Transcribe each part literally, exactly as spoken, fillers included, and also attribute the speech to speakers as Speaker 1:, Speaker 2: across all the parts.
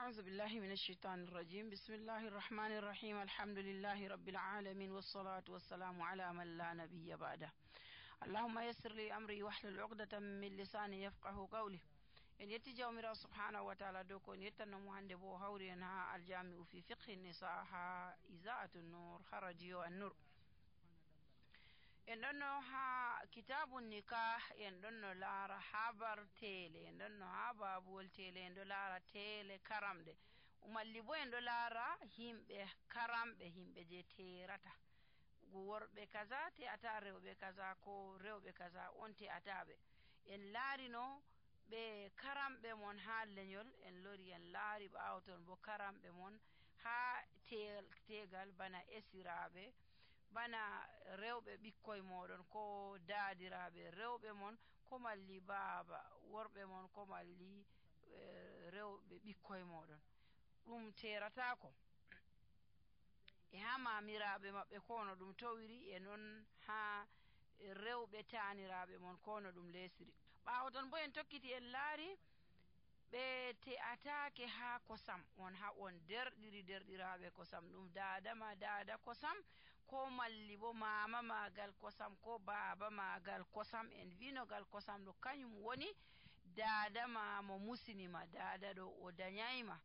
Speaker 1: أعوذ بالله من الشيطان الرجيم. بسم الله الرحمن الرحيم. الحمد لله رب العالمين والصلاة والسلام على من لا نبي بعده. اللهم يسر لي أمري واحلل عقدة من لساني يفقه قولي. إن يتجاو ميرا سبحانه وتعالى دوكو إن يتنمو هند بو هوري أنها الجامع في فقه النساء إذاعة النور خرجيو النور. en ɗonno ha kitabu nikah en ɗonno laara habar tele en ɗonno ha babuwol tele en ɗo laara tele karamɗe umalli bo en ɗo laara himɓe karamɓe himɓe je terata worɓe kaza te ata rewɓe kaza ko rewɓe kaza on te ataɓe en laarino ɓe karamɓe mon ha leñol en lori en laari ɓawo ton bo karamɓe mon ha tegal bana esiraɓe bana rewɓe ɓikkoye moɗon ko daadiraɓe rewɓe mon ko malli baaba worɓe mon ko malli rewɓe ɓikkoye moɗon ɗum teratako e ha mamiraɓe maɓɓe kono ɗum towiri e noon ha rewɓe taniraɓe mon kono ɗum lesiri ɓawo ton bo en tokkiti en laari ɓe te'atake ha kosam on ha on derɗiri derɗiraɓe kosam ɗum dada ma dada kosam ko malli bo mama magal kosam ko baba magal kosam en vinogal kosam ɗo kañum woni dada ma mo musinima dada ɗo o danyayma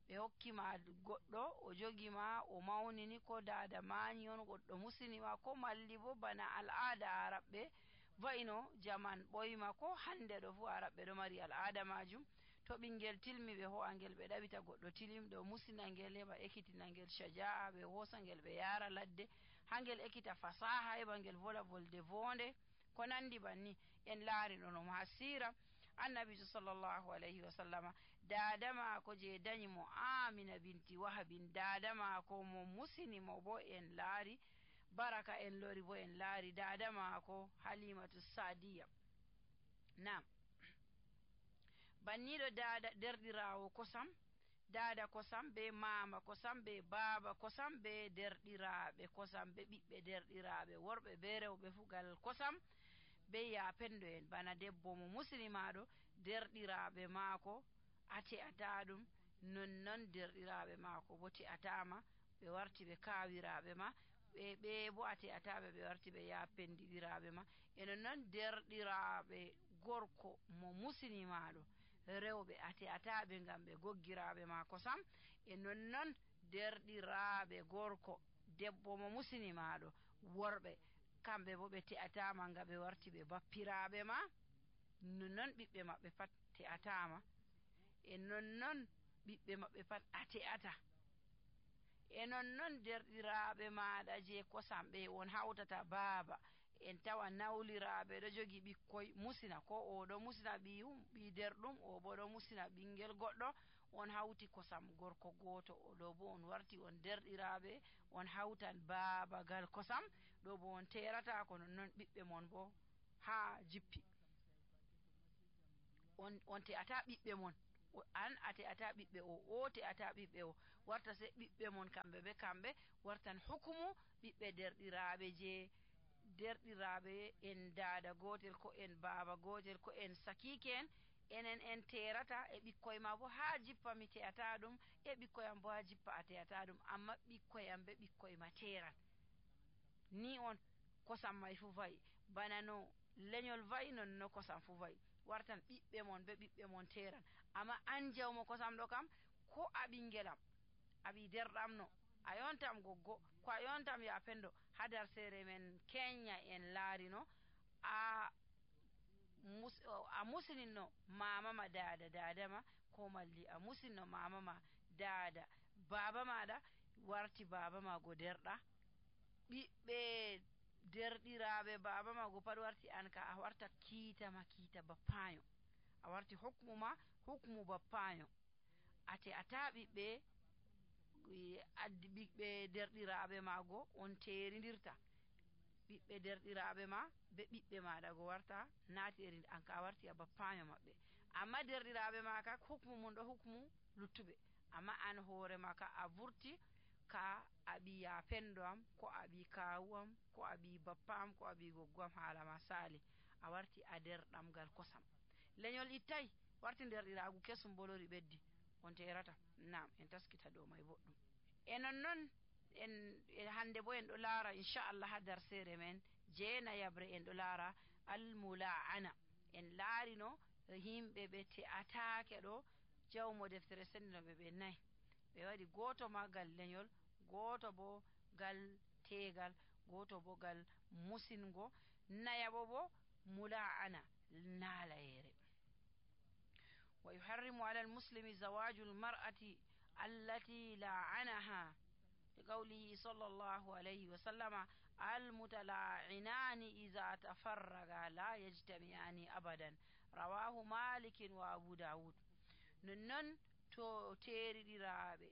Speaker 1: ɓe hokkima goɗɗo o jogima o mawnini ko dada mañi on goɗɗo musinima ko malli bo bana al'ada araɓɓe wayno jaman ɓoyma ko hande ɗo fu araɓɓe ɗo mari al'ada majum to ɓingel tilmi ɓe ho'a ngel ɓe ɗaɓita goɗɗo tilimɗo o musina ngel heɓa ekkitina ngel shaja'a ɓe hosa ngel ɓe yara ladde ha ngel ekkita fasaha heɓa ngel vola volde vonde ko nandi banni en laari ɗonom ha sira annabijo sallllahu alayhi wa sallama dada maako je dañi mo amina binti wahabin dada maako mo musinimo bo en laari baraka en lori bo en laari dada maako halimatu sadiya nam banniɗo dada derɗirawo kosam dada kosam be mama kosam be baba kosam be derɗiraɓe kosam be ɓiɓɓe derɗiraɓe worɓe be rewɓe fugal kosam be yapendo en bana debbo mo muslimaɗo derɗiraɓe maako ate ata ɗum nonnon derɗiraɓe maako bo te atama ɓe warti ɓe kawiraɓe ma ɓe ɓe bo ate ataɓe ɓe warti ɓe yapendiɗiraɓe ma eno noon derɗiraɓe gorko mo muslimaɗo rewɓe ate ataɓe ngam ɓe goggiraɓe ma kosam e nonnon derɗiraɓe gorko debbo mo muslimaɗo worɓe kamɓe bo ɓe te'atama ngam ɓe warti ɓe bappiraɓe ma nonnon ɓiɓɓe maɓɓe pat te'atama e nonnon ɓiɓɓe maɓɓe pat a te'ata e nonnon derɗiraɓe maɗa je kosam ɓe on hawtata baaba en tawa nawliraɓe ɗo jogi ɓikkoy musina ko oɗo musina ɓiyum ɓi derɗum o bo ɗo musina ɓingel goɗɗo on hawti kosam gorko goto oɗo bo on warti on derɗiraɓe on hawtan babagal kosam ɗo bo on terata ko nonnon ɓiɓɓe mon bo ha jippi on on te'ata ɓiɓɓe mon an ate ata ɓiɓɓe o o te ata ɓiɓɓe o warta se ɓiɓɓe mon kamɓe be kamɓe wartan hukumu ɓiɓɓe derɗiraɓe je derɗiraɓe en dada gotel ko en baba gotel ko en sakike en enen en terata e ɓikkoye ma bo ha jippa mi te'ata ɗum e ɓikkoyam bo ha jippa a te'ata ɗum amma ɓikkoyam be ɓikkoye ma teran ni on kosam may fu wayi bana no leñol wayi non no kosam fu wayi wartan ɓiɓɓe mon be ɓiɓɓe mon teran amma an jawmo kosam ɗo kam ko a ɓingelam aɓi derɗamno a yontam goggo ko a yontam ya pendo hadar sere men Kenya en laarino a mus a musininno mama ma dada dada ma ko malli a musinno mama ma dada baba maɗa warti baba ma go derɗa ɓiɓɓe derɗiraɓe baba ma go pat warti an ka a warta kiitama kiita bappayo a warti hukmu ma hukmu bappayo ate ata ɓiɓɓe addi ɓiɓɓe derɗiraɓe mago on teridirta ɓiɓɓe derɗiraɓe ma be ɓiɓɓe maɗa go warta nateri an ka warti a bappayo maɓɓe amma derɗiraɓe ma ka hukmu mum ɗo hukmu luttuɓe amma an hoore ma ka a vurti ka aɓi ya pendo am ko aɓi kawu am ko aɓi bappa am ko aɓi goggo am haala ma saali a warti a derɗamgal kosam leñol ittay warti derɗiragu kesum bolori ɓeddi on terata. Nam en taskita dow may boɗɗum. E nonnon en e hande bo en ɗo laara inchallah ha darsere men jeenayabre en ɗo laara almula'ana. En laarino yimɓe ɓe te'atake ɗo jawmo deftere sendinoɓe ɓe nayi, ɓe waɗi goto ma gal lenyol, goto bo gal tegal, goto bo gal musingo, nayabo bo mula'ana nalayere. wa yuharrimu ala almuslimi zawaju almar'ati allati la'anaha لقوله صلى الله عليه وسلم المتلاعنان إذا تفرقا لا يجتمعان أبدا رواه مالك وأبو داود. ننن تو تيري رابي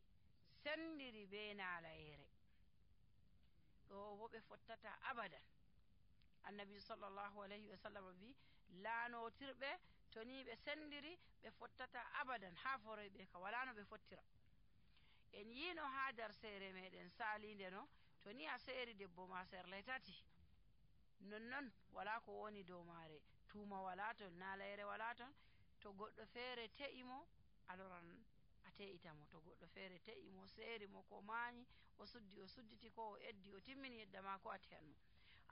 Speaker 1: سندري بين على وبي فتتا أبدا. النبي صلى الله عليه وسلم بي لا نوتر به توني بسندري بفتتا أبدا حافظي بك ولا نو بفترا. en yino ha dar sere meɗen salinde no to ni a seeri debbo ma serle tati nonnon wala ko woni dow mare, tuma wala ton, nalayere wala ton. To goɗɗo feere te'imo aloran a te'itamo, to goɗɗo feere te'imo seeri mo ko mañi o suddi o sudditi ko o eddi o timmini yedda ma ko a te'anmo.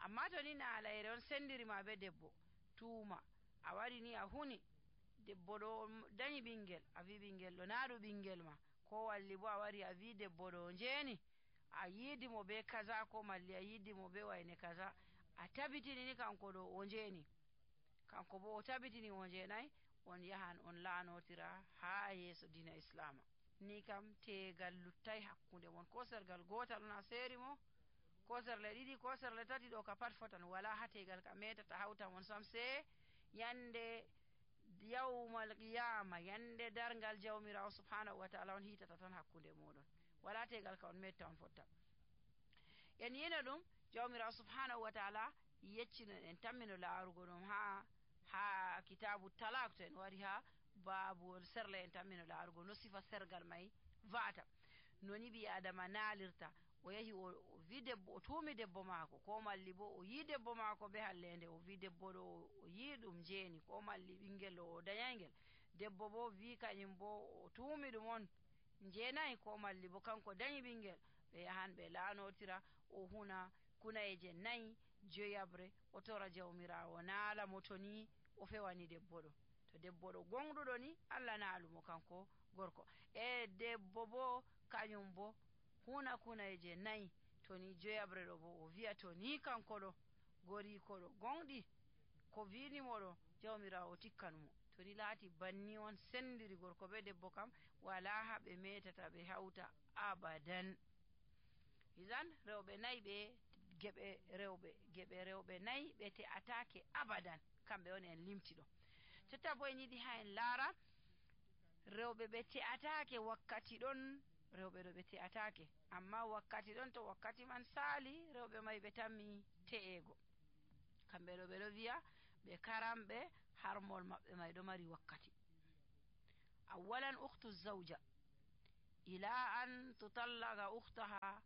Speaker 1: amma to ni nalayere on sendiri ma be debbo tuma a wari ni a huni debbo ɗo dañi ɓingel, a wi ɓingel ɗo naɗu ɓingel ma, ko walli bo a wari a wi debbo ɗo jeni a yidimo be kaza, ko malli a yidimo be wayne kaza, a tabitini ni kanko ɗo o jeni, kanko bo o tabitini o jenayi, on yahan on laanotira ha yeso dina islama. Ni kam tegal luttai hakkunde mon, ko sergal gotal on a seeri mo, ko serle ɗiɗi ko serle tati, ɗo ka pat fotan, wala ha tegal ka metata hawta mon sam se yande yawmal qiyama, yande dargal jawmirawo subhanahu wa ta'ala on hitata tan hakkunde moɗon, wala tegal ka on metta on fotta. en yina ɗum jawmirawo subhanahu wa ta'ala yeccino en tammino laarugo ɗum ha ha kitabu talak, to en wari ha babuwol serle en tammino laarugo no sifa sergal may vata, noni ɓi adama naalirta. o yahi o wi debbo, o tuumi debbo maako, ko malli bo o yi debbo maako be hallende, o wi debbo ɗo o yi ɗum jeeni, ko malli ɓingel ɗo o dañaygel, debbo bo wi kañum bo o tuumi ɗum on jeenayi, ko malli bo kanko dañi ɓingel. ɓe yahan ɓe laanotira, o huna kunayeje nayi joyabre, o tora jawmirawo naala mo to ni o fewani debbo ɗo. to debbo ɗo gonɗuɗo ni Allah naalumo kanko gorko, e debbo bo kañum bo huna kunayeje nayi, to ni joyabre ɗo bo o wiya to ni kanko ɗo goriko ɗo gonɗi ko winimo ɗo jawmirawo tikkanumo. to ni laati banni on sendiri gorko be debbo kam wala ha ɓe metata ɓe hawta abadan. idan rewɓe nayi ɓe geɓe rewɓe geɓe rewɓe nayi ɓe te'atake abadan, kamɓe on en limti ɗo. totta bo en yiɗi ha en laara rewɓe ɓe te'atake wakkati ɗon, rewɓe ɗo ɓe te'atake, amma wakkati ɗon to wakkati man saali rewɓe may ɓe tammi te'ego, kamɓe ɗo ɓe ɗo wiya ɓe karamɓe harmol maɓɓe may ɗo mari wakkati. awalan ukhtu zawja ila an tutallaga ukhtaha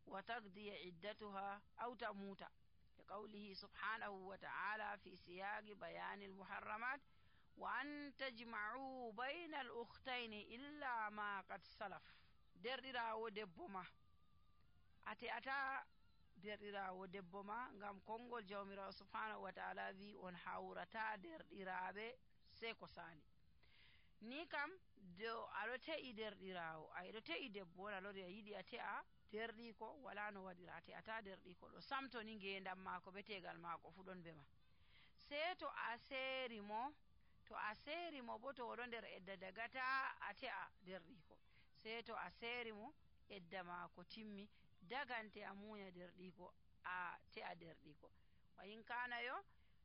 Speaker 1: wa taqdiya iddatuha aw tamuta, لقوله سبحانه وتعالى في سياق بيان المحرمات وأن تجمعوا بين الأختين إلا ما قد سلف. derɗirawo debbo ma ate ata derɗirawo debbo ma ngam konngol jawmirawo subhanahu wa ta'ala wi on hawrata derɗiraɓe sei ko sali. ni kam do aɗo te'i derɗirawo, aɗo te'i debbo on alori a yiɗi a te'a derɗiko, wala no waɗira, a te'ata derɗiko ɗo samto ni ngendam mako be tegal mako fu ɗon be ma. sei to a seeri mo, to a seeri mo bo to oɗo nder edda dagata a te'a derɗiko, sei to a seeri mo edda mako timmi dagante a muña derɗiko a te'a derɗiko. wa in kana yo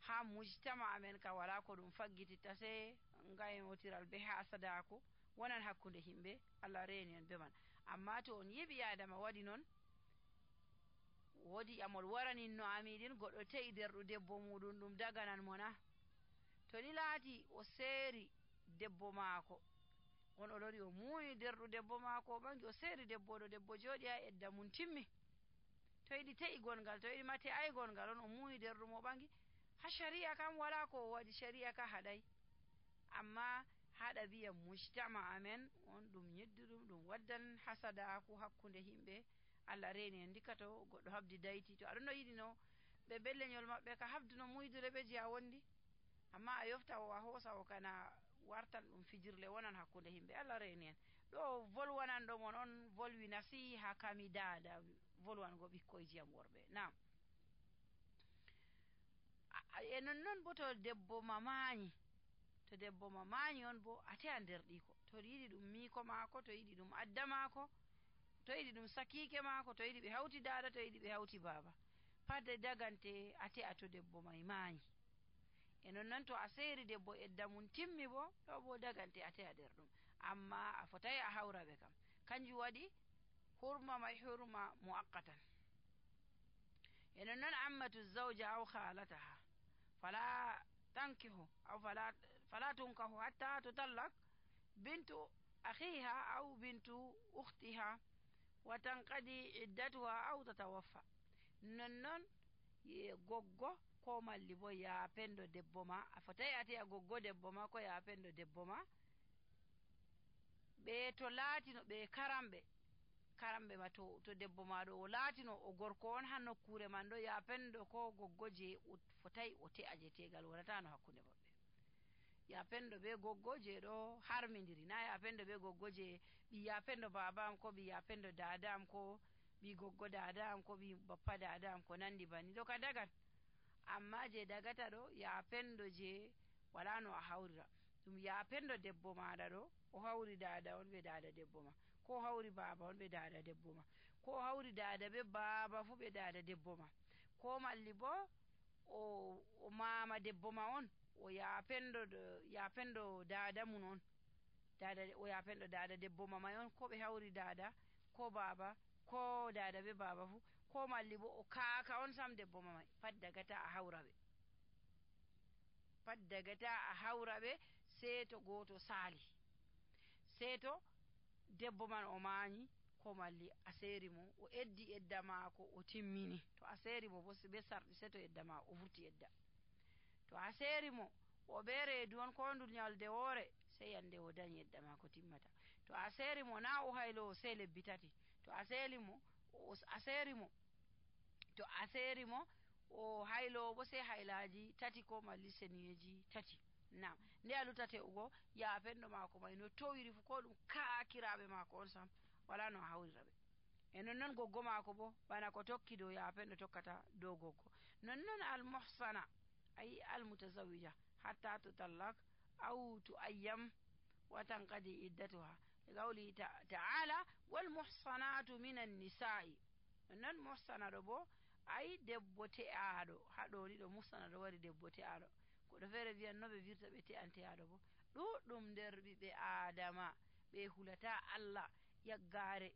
Speaker 1: ha mujtama amen ka wala ko ɗum faggititta sei ngayotiral be hasadaku wonan hakkunde himɓe, Allah reeni en be man. amma to on yiɓi adama waɗi noon, woodi amol waranin no amiɗin, goɗɗo te'i derɗu debbo muɗum ɗum daganan mo na. to ni laati o seeri debbo maako, on o lori o muuyi derɗu debbo maako o ɓangi, o seeri debbo ɗo, debbo jooɗi ha edda mum timmi, to yiɗi te'i gongal, to yiɗi ma te'ai gongal, on o muuyi derɗu mo ɓangi, ha shari'a kam wala ko o waɗi, shari'a ka haɗai. amma ha ɗabi'a mujtama amen on ɗum yidduɗum ɗum waddan hasadaku hakkunde himɓe Allah reni en ndika to goɗɗo habdi dayti to aɗon no yiɗi no ɓe belleñol maɓɓe ka habduno muydure ɓe je a wondi, amma a yofta o a hoosa o kana wartan ɗum fijirle wonan hakkunde himɓe. Allah reni en ɗo volwanan ɗo mon on volwi nasiha kami dada volwango ɓikkoyji am worɓe. Nam e nonnon bo to debbo mamayi to debbo mamayi on bo ate a nder ɗiko to yiɗi ɗum miko maako, to yiɗi ɗum adda maako, to yiɗi ɗum sakike maako, to yiɗi ɓe hawti dada, to yiɗi ɓe hawti baba, fadde dagante ate a to debbo may mayi. E nonnon to a seeri debbo edda mum timmi bo ɗo bo dagante ate a nder ɗum, amma a fotai a hawra ɓe kam, kanjum waɗi hurma may hurma muaqqatan. e nonnon ammatu zawja aw khalataha fala tankihu aw fala fala tunkahu hatta tutallak bintu akhiha aw bintu ukhtiha wa tanqadi iddatuha aw tatawaffa. nonnon ye goggo ko malli bo ya pendo debbo ma, a fotai ate a goggo debbo ma ko ya pendo debbo ma, ɓe to laatino ɓe karamɓe karamɓe ma to, to debbo ma ɗo o laatino o gorko on ha nokkure man ɗo, ya pendo ko goggo je o fotai o te'a je tegal wonatano hakkunde maɓɓe. ya pendo be goggo je ɗo harmidiri, na ya pendo be goggo je ɓi ya pendo baba am ko ɓi ya pendo dada am ko ɓi goggo dada am ko ɓi bappa dada am ko nandi banni ɗo ka dagan. amma je dagata ɗo ya pendo je wala no a hawrira ɗum, ya pendo debbo maɗa ɗo o hawri dada on ɓe dada debbo ma, ko hawri baba on ɓe dada debbo ma, ko hawri dada be baba fu ɓe dada debbo ma, ko malli bo o, o mama debbo ma on o ya pendo ya pendo dada mun on, dada o ya pendo dada debbo ma may on, ko ɓe hawri dada ko baba ko dada be baba fu, ko malli bo o kaka on sam debbo ma may, pat dagata a hawra ɓe, pat dagata a hawra ɓe sei to goto sali, sei to debbo man o mayi ko malli a seeri mo o eddi edda maako o timmini, to a seeri mo bo be sarɗi sei to edda ma o vurti edda, to a seeri mo o be reedu on ko ndu nyalde woore sei yande o dañi edda maako timmata, to a seeri mo na o haylo sei lebbi tati, to a seeri mo o a seeri mo to a seeri mo o haylo bo sei haylaji tati ko malli seniyeji tati. Nam nde a lutate ugo ya pendo maako may no towiri fu ko ɗum kaakiraɓe maako on sam wala no a hawrira ɓe. e nonnon goggo maako bo bana ko tokki dow ya pendo tokkata dow goggo. nonnon al muhsana ay al mutazawwija hatta tutallak aw tuayyam wa tanqadi iddatuha li qawli ta'ala wal muhsanatu minan nisa'i. nonnon muhsana ɗo bo ay debbo te'aɗo, ha ɗo ni ɗo muhsana ɗo wari debbo te'aɗo, goɗɗo feere wiyan no ɓe wirta ɓe te'anteyaɗo bo ɗuɗɗum nder ɓiɓɓe adama ɓe hulata Allah yaggare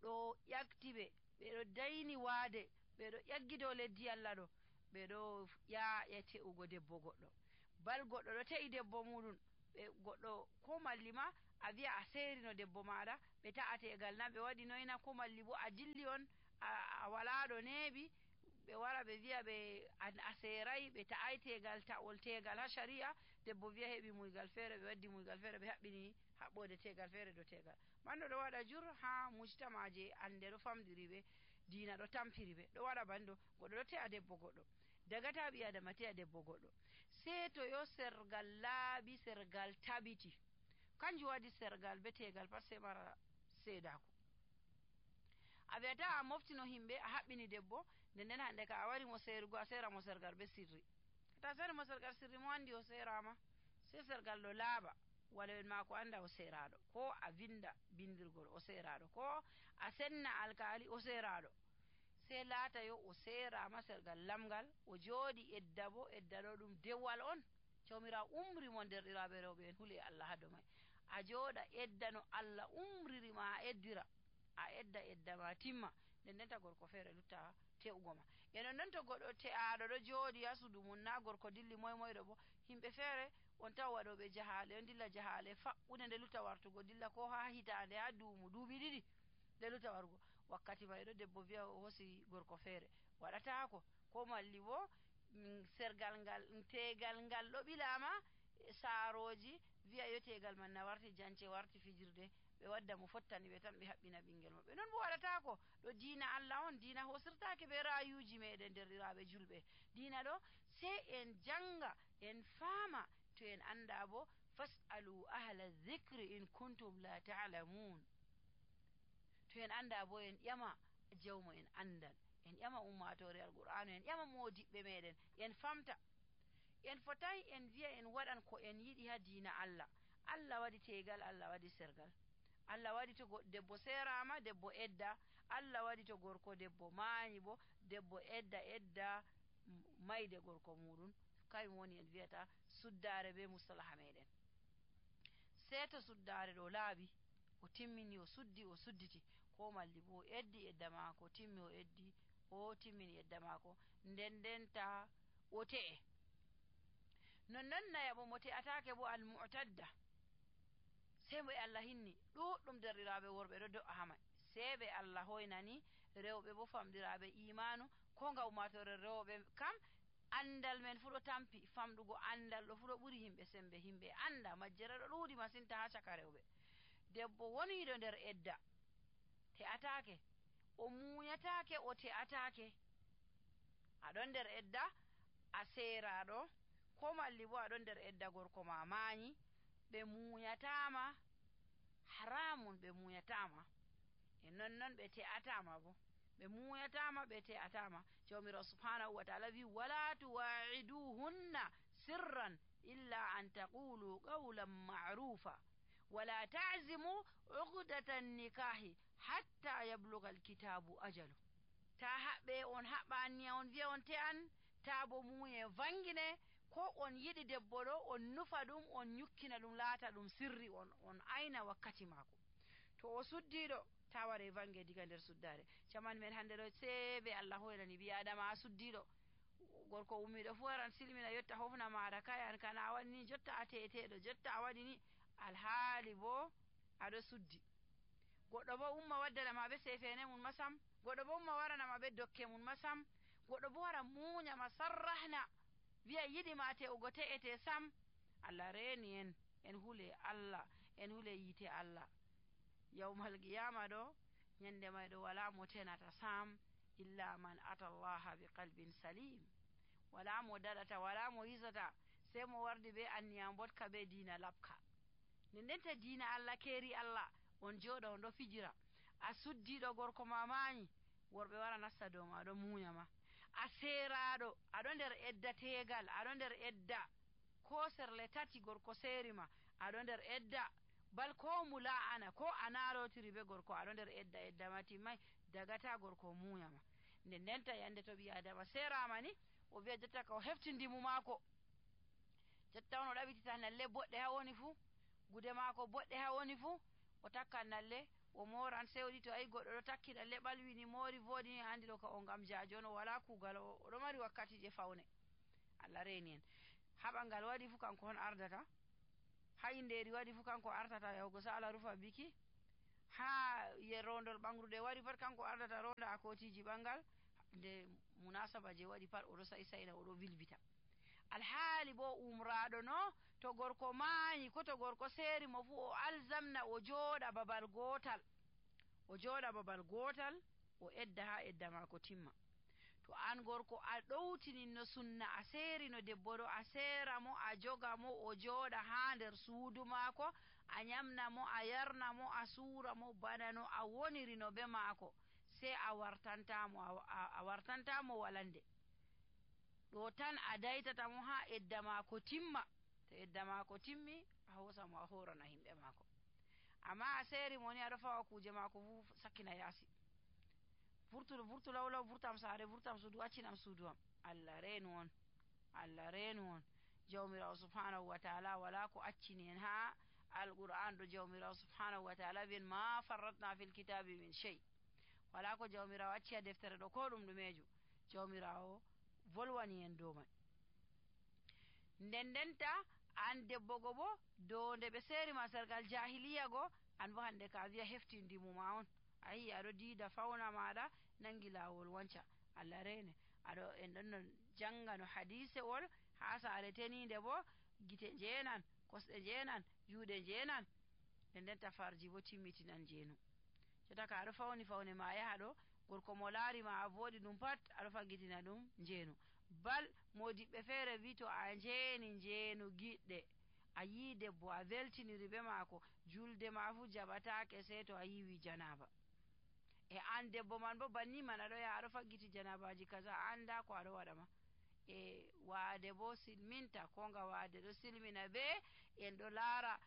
Speaker 1: ɗo ƴakti ɓe, ɓeɗo dayni waade, ɓeɗo ƴaggi dow leddi Allah ɗo, ɓeɗo ƴaƴa te'ugo debbo goɗɗo, bal goɗɗo ɗo te'i debbo muɗum ɓe goɗɗo ko malli ma a wiya a serino debbo maɗa ɓe ta'ategal na ɓe waɗi noyna, ko malli bo a dilli on a wala ɗo neeɓi ɓe wara ɓe wiya ɓe a serai ɓe ta'ai tegal ta'ol tegal ha sharia, debbo wiya heɓi muygal feere ɓe waddi muygal feere ɓe haɓɓini haɓɓode tegal feere dow tegal, manɗo ɗo waɗa jur ha mujtamaje ande ɗo famdiri ɓe, diina ɗo tampiri ɓe, ɗo waɗa bando goɗɗo ɗo te'a debbo goɗɗo, dagata ɓi adama te'a debbo goɗɗo sei to yo sergal laaɓi sergal tabiti, kanjum waɗi sergal be tegal pat sei mara seedaku. a wiyata a moftino himɓe a haɓɓini debbo nden nden hande ka a wari mo seerugo a sera mo sergal be sirri, ta seri mo sergal sirri mo andi o serama, sei sergal ɗo laaɓa waloen mako anda o seraɗo, ko a vinda bindirgol o seraɗo, ko a senna alkali o seraɗo, sei laata yo o serama sergal lamgal o jooɗi edda bo edda ɗo ɗum dewal on, jawmirawo umri mo derɗiraɓe rewɓe en huule Allah ha dow may, a jooɗa edda no Allah umriri ma a eddira, a edda edda ma timma nden ndenta gorko feere lutta te'ugo ma. e nonnon to goɗɗo te'aɗo ɗo jooɗi ha suudu mum na gorko dilli moy moyɗo bo, himɓe feere on tawa waɗoɓe jahale on dilla jahale faɓɓude nde lutta wartugo dilla ko ha hitande ha duumu duuɓi ɗiɗi nde lutta warugo, wakkati may ɗo debbo wiya o hosi gorko feere waɗatako, ko malli bo sergal ngal tegal ngal ɗo ɓilama saaroji wi'a yo tegal man na warti jance warti fijirde ɓe wadda mo fottani ɓe tan ɓe haɓɓina ɓingel maɓɓe non bo waɗatako ɗo diina Allah on diina hosirtake be rayuji meɗen derɗiraɓe julɓe diina ɗo sei en janga en faama to en anda bo fas'alu ahla dhikri in kuntum la ta'lamun to en anda bo en ƴama jawmo en andal en ƴama ummatore alqur'anu en ƴama modiɓɓe meɗen en famta en fotai en wiya en waɗan ko en yiɗi ha diina Allah Allah waɗi tegal Allah waɗi sergal Allah waɗi to debbo serama debbo edda Allah waɗi to gorko debbo mayi bo debbo edda edda mayde gorko muɗum kayum woni en wiyata suddare be mustalaha meɗen sei to suddare ɗo laaɓi o timmini o suddi o sudditi ko malli bo o eddi edda mako timmi o eddi o timmini edda mako nden ndenta o te'e nonnon nayabo mo te'atake bo almu'tadda sei mo e Allah hinni ɗuɗɗum derɗiraɓe worɓe ɗo do'a hama sei ɓe Allah hoynani rewɓe bo famɗiraɓe imanu ko nga ummatore rewɓe kam andal men fu ɗo tampi famɗugo andal ɗo fu ɗo ɓuri himɓe sembe himɓe anda majjere ɗo ɗuuɗi masinta ha caka rewɓe debbo woniɗo nder edda te'atake o muñatake o te'atake aɗon nder edda a seraɗo ko malli bo aɗon nder edda gorko ma mayi ɓe muñatama haramun ɓe muñatama e nonnon ɓe te'atama bo ɓe muñatama ɓe te'atama jawmirawo subhanahu wa ta'ala wi wala tuwa'iduhunna sirran illa an taqulu qawlan ma'rufa wala ta'zimu uqdatan nikahi hatta yabluga alkitabu ajalu ta haɓɓe on haɓani on wiya on te'an ta bo muye vangine ko on yiɗi debbo ɗo on nufa ɗum on nyukkina ɗum laata ɗum sirri on on ayna wakkati mako to o suddiɗo ta ware vange diga nder suddare caman men hande ɗo seɓe Allah hoynani ɓi adama a suddiɗo gorko ummiɗo fu waran silmina yotta hofna maɗa kayan kana a waɗi ni jotta a teteɗo jotta a waɗi ni alhaali bo aɗo suddi goɗɗo bo umma waddanama ɓe sefene mum masam goɗɗo bo umma waranama ɓe dokke mum masam goɗɗo bo wara muñama sarrahna wiya yiɗima te'ugo te'ete sam Allah reni en en hule Allah en hule yite Allah yawmal qiyama ɗo nyande may ɗo wala mo tenata sam illa man ata Allah bi qalbin salim wala mo daɗata wala mo hisata sai mo wardi be anniyam botka be diina labka nden ndenta diina Allah keeri Allah on joɗa on ɗo fijira a suddiɗo gorko ma mayi worɓe wara nasta dow ma ɗo muñama a seraɗo aɗo nder edda tegal aɗo nder edda ko serle tati gorko serima aɗo nder edda bal ko mula'ana ko a narotiri be gorko aɗo nder edda edda ma timmai dagata gorko muñama nden ndenta yande to ɓi adama serama ni o wiya jotta ka o hefti ndimu mako jotta on o ɗaɓitita nalle boɗɗe ha woni fu gude mako boɗɗe ha woni fu o takkan nalle o moran sewɗi to ayi goɗɗo ɗo takki nalle ɓalwini mori voɗini andi ɗo ka o ngam jajo on o wala kugal oɗo mari wakkati je fawne Allah reni en ha ɓangal waɗi fu kanko on ardata ha inderi waɗi fu kanko artata yahugo sala rufa biki ha ye rondol ɓangrude waɗi pat kanko ardata ronda a kotiji ɓangal nde munasaba je waɗi pat oɗo sai saina oɗo vilvita alhaali bo umraɗo no to gorko mayi ko to gorko seri mo fu o alzamna o jooɗa babal gotal o jooɗa babal gotal o edda ha edda mako timma to an gorko a ɗowtininno sunna a serino debbo ɗo a sera mo a joga mo o jooɗa ha nder suudu maako a nyamna mo a yarna mo a suura mo bana no a wonirino be maako sei a wartantamo a, a wartantamo walande ɗo tan a daytata mo ha edda maako timma to edda maako timmi a hosa mo a horana himɓe maako amma a seri mo ni aɗo fawa kuje maako fu sakkina yaasi vurtuɗo vurtu lawlaw vurtam saare vurtam suudu accinam suudu am Allah reenu on Allah reenu on jawmirawo subhanahu wa ta'ala wala ko accini en ha alqur'an ɗo jawmirawo subhanahu wa ta'ala wiyen ma farratna fil kitabi min shay wala ko jawmirawo acci ha deftere ɗo ko ɗum ɗumejo jawmirawo volwani en dow man nden ndenta an debbo go bo dow nde ɓe serima sergal jahiliya go an bo hande ka wiya hefti ndimuma on a yi aɗo diida fawna maɗa nangi lawol wanca Allah rene aɗo en ɗon no janga no hadisewol ha saare tenide bo gite jeenan kosɗe njeenan juuɗe njeenan nden ndenta farji bo timmitinan njeenu jotta ka aɗo fawni fawne ma yaha ɗo gorko mo laari ma a vooɗi ɗum pat aɗo faggitina ɗum njeenu bal modiɓɓe feere wi to a njeeni njeenu giɗɗe a yii debbo a weltiniri be maako julde ma fu jaɓataake sey to a yiiwi janaba e an debbo man bo banni man aɗo yaha aɗo faggiti janabaji kaza a anda ko aɗo waɗa ma e waade bo silminta ko nga waade ɗo silmina be en ɗo laara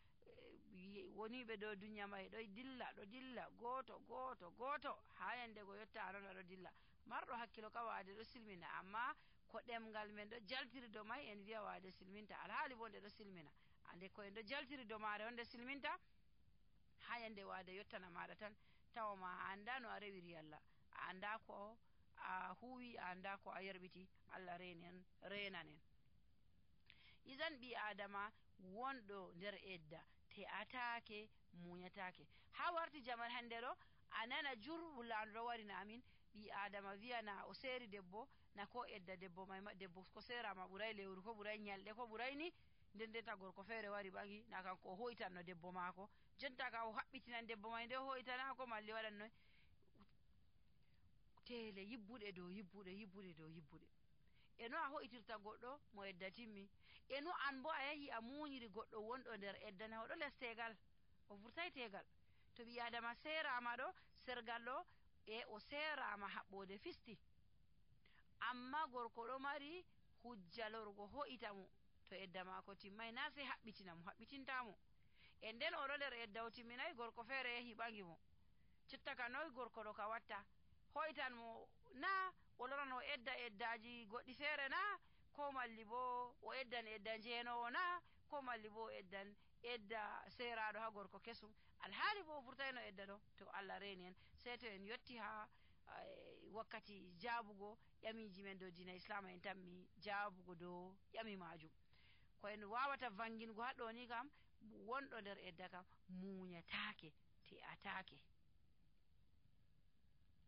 Speaker 1: woniɓe dow duniya ma e ɗo dilla ɗo dilla gooto gooto gooto ha yande go yotta anon aɗo dilla marɗo hakkilo ka waade ɗo silmina amma ko ɗemgal men ɗo jaltiri dow may en wiya waade silminta alhaali bo nde ɗo silmina ande ko en ɗo jaltiri dow maare on nde silminta ha yande waade yottana maɗa tan tawa ma a anda no a rewiri Allah a anda ko a huwi a anda ko a yerɓiti Allah renen renanen idan ɓi adama wonɗo nder edda te'atake muñatake ha warti jaman hande ɗo a nana jur wullandu ɗo warina amin ɓi adama wiya na o seeri debbo na ko edda debbo may debbo ko serama ɓuray lewru ko ɓuray nyalɗe ko ɓuray ni nden ndenta gorko feere wari ɓagi na kanko o hoytanno debbo maako jonta ka o haɓɓitinan debbo may nde hoytanako malli waɗan noy tele yibbuɗe dow yibbuɗe yibbuɗe dow yibbuɗe e no a hoytirta goɗɗo mo edda timmi e no an bo a yahi a muñiri goɗɗo wonɗo nder eddana oɗo les tegal o vurtay tegal to ɓi adama serama ɗo sergal ɗo e o serama haɓɓode fisti amma gorko ɗo mari hujja lorgo hoyita mo to edda mako timmay na sey haɓɓitina mo haɓɓitintamo e nden oɗo nder edda o timminayi gorko feere yahi ɓagi mo jotta ka noy gorko ɗo ka watta hoytan mo na o lorano edda eddaji goɗɗi feere na ko malli bo o eddan edda njeenowo na ko malli bo o eddan edda seraɗo ha gorko kesum alhaali bo o vurtayno edda ɗo to Allah reeni en sey to en yotti ha wakkati jaabugo ƴamiji men dow diina islama en tammi jaabugo dow ƴami majum ko en wawata vangingo ha ɗo ni kam wonɗo nder edda kam muñatake te'atake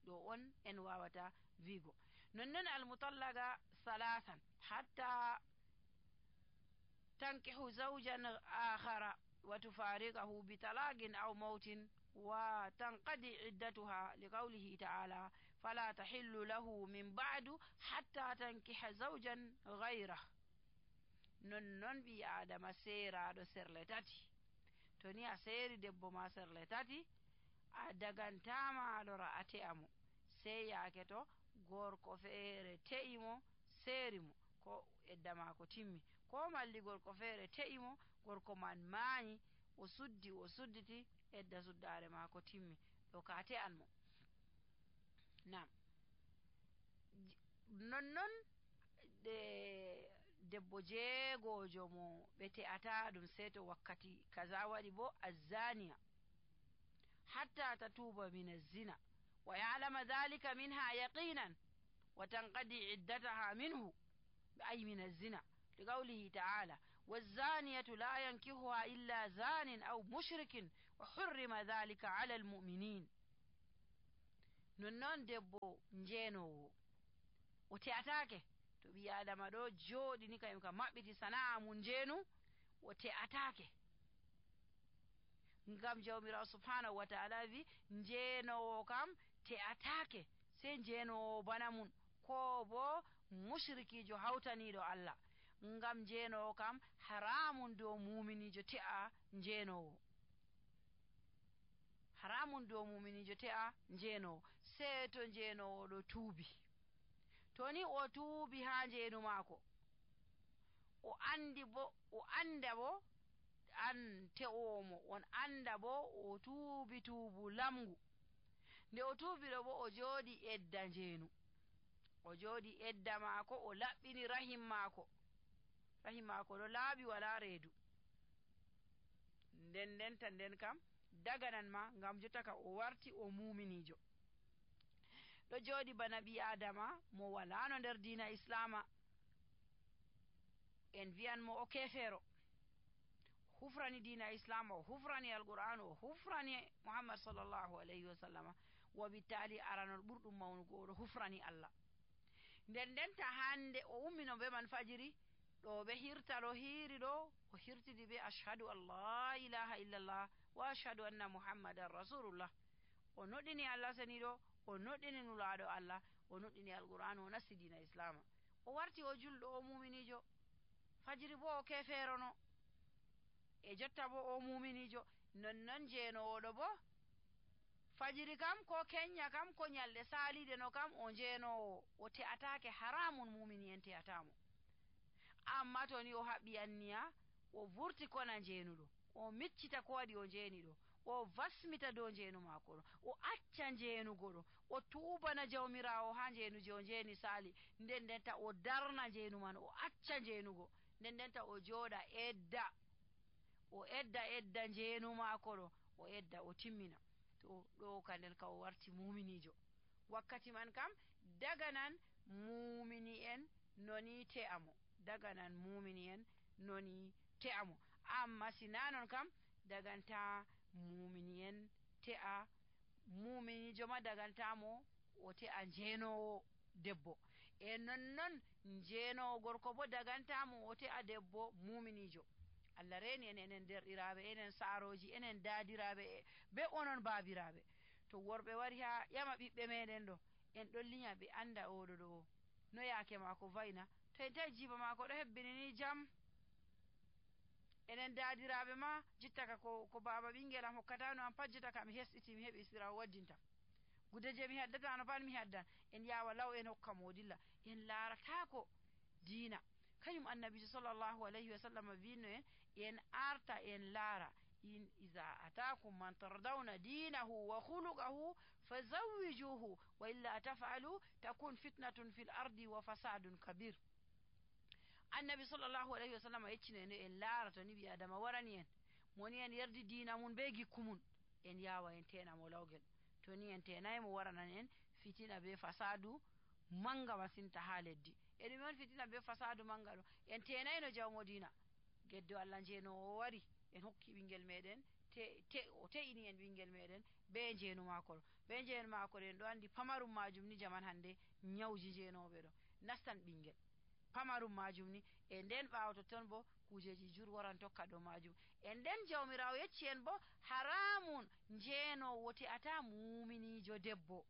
Speaker 1: ɗo on en wawata wiigo nonnon almutallaga salasan hatta tankihu zawjan akhara wa tufariqahu bi talaqin aw mautin wa tanqadi iddatuha liqawlihi ta'ala fala tahillu lahu min ba'du hatta tankiha zawjan ghayrahu nonnon ɓi adama seraɗo serle tati to ni a seeri debbo ma serle tati a dagantama lora a te'amo sey yaake to gorko feere te'imo seeri mo ko edda mako timmi ko malli gorko feere te'imo gorko man maayi o suddi o sudditi edda suddare mako timmi ɗo ka te'an mo nam nonnon de debbo jeegojo mo ɓe te'ata ɗum sey to wakkati kaza waɗi bo azzaniya hatta tatuba min az-zina wa ya'lama dhalika minha yaqinan wa tanqadi iddataha minhu ay min az-zina liqawlihi ta'ala waz-zaniyatu la yankihuha illa zanin aw mushrikin wa hurrima dhalika 'ala al-mu'minin nonnon debbo njeenowo o te'atake to ɓi adama ɗo jooɗi ni kayum ka maɓɓiti sana'a mum njeenu o te'atake ngam jawmirawo subhanahu wa ta'ala wi njeenowo kam te'atake sey njeenowo bana mum ko bo mushrikijo hawtaniɗo Allah ngam njeenowo kam haramun dow muminijo te'a njeenowo haramun dow muminijo te'a njeenowo sey to njeenowo ɗo tuubi to ni o tuubi ha njeenu maako o andi bo o anda bo an te'omo on anda bo o tuubi tuubu lamgu nde o tuubi ɗo bo o jooɗi edda njeenu o jooɗi edda maako o laɓɓini rahim maako rahim maako ɗo laaɓi wala reedu nden ndenta nden kam daganan ma ngam jotta ka o warti o muminijo ɗo jooɗi bana ɓi adama mo walano nder diina islama en wiyan mo o kefeero hufrani diina islama o hufrani alqur'an o hufrani muhammad sallllahu alayhi wa sallama wa bittali aranol ɓurɗum mawnugo oɗo hufrani Allah nden ndenta hande o ummino be man fajiri ɗo ɓe hirta ɗo hiiri ɗo o hirtidi be ashhadu an la ilaha illallah wa ashhadu anna muhammadan rasulullah. o noɗɗini Allah seniɗo, o noɗɗini nulaɗo Allah, o noɗɗini alqur'anu, o nasti dina islama, o warti o julɗo, o muminijo. fajiri bo o keferono, e jotta bo o muminijo. nonnon jeenowoɗo bo fajiri kam ko kenya kam ko nyalɗe saliɗe no kam o jeenowo, o te'atake haramun, mumini en te'atamo. amma to ni o haɓɓi anniya, o vurti kona jeenuɗo, o miccita ko waɗi o jeeni ɗo, o vasmita dow jeenu maako ɗo, o acca jeenugo ɗo, o tuubana jawmirawo ha jeenuji o jeeni sali, nden ndenta o darna jeenu man, o acca jeenugo, nden ndenta o jooɗa edda, o edda edda jeenu maako ɗo, o edda o timmina. to ɗo ka nden ka o warti muminijo. wakkati man kam daga nan mumini en noni te'amo, daga nan mumini en noni te'amo. amma sina non kam daganta mumini en te'a, muminijo ma dagantamo o te'a jeenowo debbo, e nonnon jeenowo gorko bo dagantamo o te'a debbo muminijo. Allah reni en enen derɗiraɓe, enen saaroji, enen daadiraɓe, be onon baabiraɓe. to worɓe wari ha ƴama ɓiɓɓe meɗen ɗo, en ɗon linya ɓe anda oɗo ɗo no yaake mako vayna, to en tawi jiba mako ɗo hebbini ni jam, enen daadiraɓe ma jittaka ko, ko baba ɓingel am hokkatano am pat, jotta ka mi hesɗiti mi heɓi sirawo waddinta, gude je mi haddatano pat mi haddan, en yawa law en hokka mo dilla. en laaratako diina. kañum annabijo sallllahu alayhi wa sallam wino en en arta en laara, in iza atakum man tardawna dinahu wa khuluqahu fazawwijuhu wa illa taf'alu takun fitnatun fil ardi wa fasadun kabir. annabi sallllahu alayhi wa sallam yeccino en en laarata ni ɓi adama warani en, moni en yerdi diina mum be gikku mum, en yawa en tenamo lawgel. to ni en tenaymo waranan en fitina be fasadu manga masinta ha leddi. e ɗum on fitina be fasadu manga ɗo, en tenayno jawmo dina. geddo Allah jeenowo wari, en hokki ɓingel meɗen te, te, o te'ini en ɓingel meɗen be jeenu mako ɗo, be jeenu mako ɗo en ɗo andi pamarum majum ni jaman hande nyawji jeenoɓe ɗo nastan ɓingel pamarum majum ni. e nden ɓawo totton bo kujeji jur waran tokka ɗo majum. e nden jawmirawo yecci en bo haramun jeenowo te'ata muminijo debbo,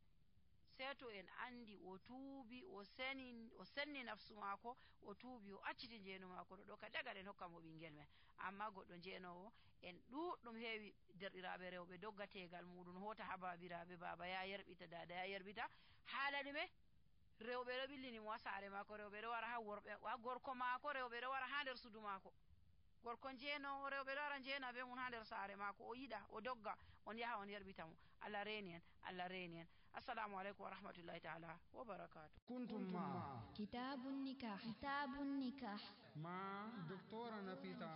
Speaker 1: sei to en andi o tuubi, o seni, o senni nafsu mako, o tuubi, o acciti jeenu mako ɗo, ɗo ka daga ɗen hokka mo ɓingel men. amma goɗɗo jeenowo, en ɗuɗɗum heewi derɗiraɓe rewɓe dogga tegal muɗum hota ha babiraɓe, baba ya yerɓita, dada ya yerɓita, haala ɗume rewɓe ɗo ɓillini mo ha saare mako, rewɓe ɗo wara ha worɓe ha gorko mako, rewɓe ɗo wara ha nder sudu mako, gorko jeenowo rewɓe ɗo wara jeena be mum ha nder saare mako, o yiɗa o dogga on yaha on yerɓita mo. Allah reni en, Allah reni en. assalamu aleykum wa rahmatullahi taala wa barakatuh.
Speaker 2: kuntum ma
Speaker 3: kitabun nikah kitabun nikah
Speaker 2: ma doctora Nafisa